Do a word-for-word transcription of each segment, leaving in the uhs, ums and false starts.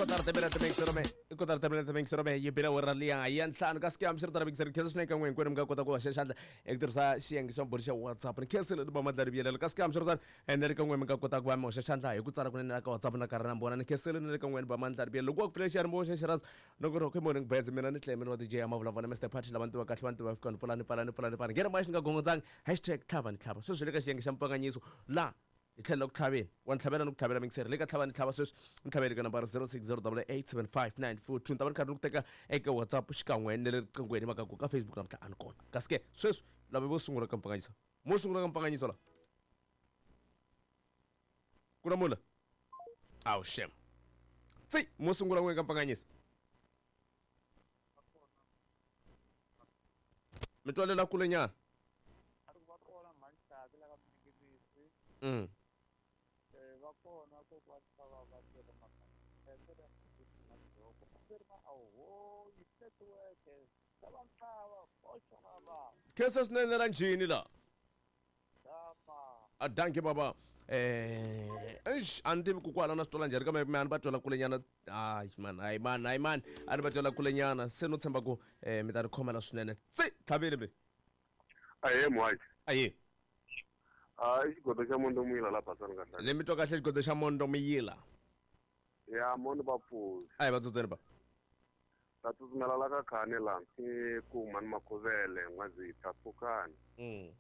Kotara timinete mingisero i kotara timinete mingisero me yi bile wera liya ya ntlhanu kasi ke hambiswiritano mingisero khensa swinene ka n'we hinkwenu mi nga kota ku hoxa xandla eku tirhisa xiyenge xa mbhuri xa WhatsApp ni khensile ni va mandla riviyelela kasi ke hambiswiritano ene ri ka n'we mi nga kota ku va mi hoxa xandla hi ku tsala kunene la ka WhatsApp na karhi na mbona ni khensile ni le ka n'we ni va mandla riviyelela loko wa ku pfula xiyanimoya xa xirhandza loko ri okay morning birds mina ni Clement wa D J ya mavulavula Mister Party lava ni tiva kahle va ni tiva fika ni pfula ni pfala ni pfula ni pfala nghena moya xi nga gongondzangi hashtag tlhava ni tlhava sweswi le ka xiyenge xa mpfanganyiso laha hi tlhela ku tlhaveni wa ni tlhavela ni ku tlhavela mingiseri le ka tlhava ni tlhava sweswi ni tlhaveli ka nambara zero six zero double eight seven five nine four two ni ta va ni karhi ni ku teka eka WhatsApp xikan'we ni le riqinghweni mhaka ku ka Facebook namuntlha a ni kona kasi ke sweswi lava vo sungula ka mpfanganyiso mo sungula ka mpfanganyiso la ku na mula awu shem tsi mo sungula n'we ka mpfanganyiso mi twalela kule nyana mm va kona kokwani va va tirha makaya khensa swinene ra njhini la a danki baba eh eish a ni tivi ku kwala na swi twala njhani kambe me a ni va twela kulenyana hayi man hayi man hayi man a ni va twela kulenyana se no tshemba ku eh mi ta ni khomela swinene tsi tlhavile be ahe muhaxi ahe a i xigodo xa Mondo Muyila la basani kahle le mi twa kahle xigodo xa Mondo Muyila ya mondo va pfuxi a hi va tsutseni ba ta tsutsumela la ka khani la i kuma ni makhuvele n'wazita pfukani mm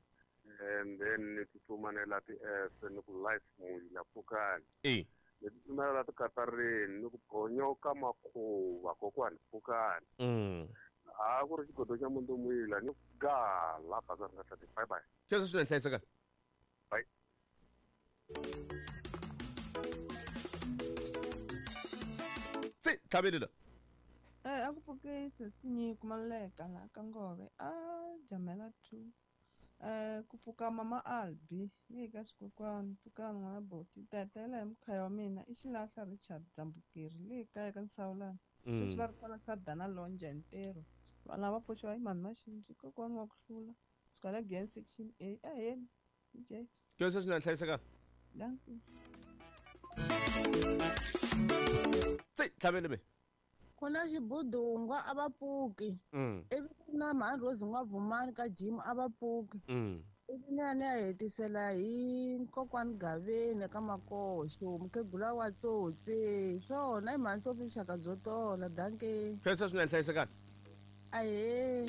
and then ni tsutsuma ni la ti-F ni ku life Muyila pfukani e ni tsutsumela la tikatarini ni ku phonyoka makhuva kokwani pfukani mm a ku ri xigodo xa Mondo Muyila ni ga la basani kahle bye bye khensa swinene hlayiseka. Bye. Tsi tlhavile la Eh a ku pfuke sesi Maluleka laha ka Ngove a jamela two eh ku pfuka mama Albi ni ka xikokwani pfukani n'wana boti tatela hi mukhaya wa mina i xilahla Richard Dzambukeri le kaya ka Nsawulani sweswi va ri kwala Sadana Lonja hi ntirho vana va pfuxiwa hi mhani Maxinji kokwani wa ku hlula suka la Glen section A aheni D J khensa swinene hlayiseka. Dankie. Tsi tlhavile me ku na xibudungwa a va pfuki mm ivi ku na mhani Rose N'wavumani ka gym a va pfuki mm ivi ni ya ni ya hetisela hi kokwani Gaveni ka Makoxo mukhegula wa tsotsi swona i mhani Sophie vuxaka byo tola danke khensa swinene hlayiseka. ahee.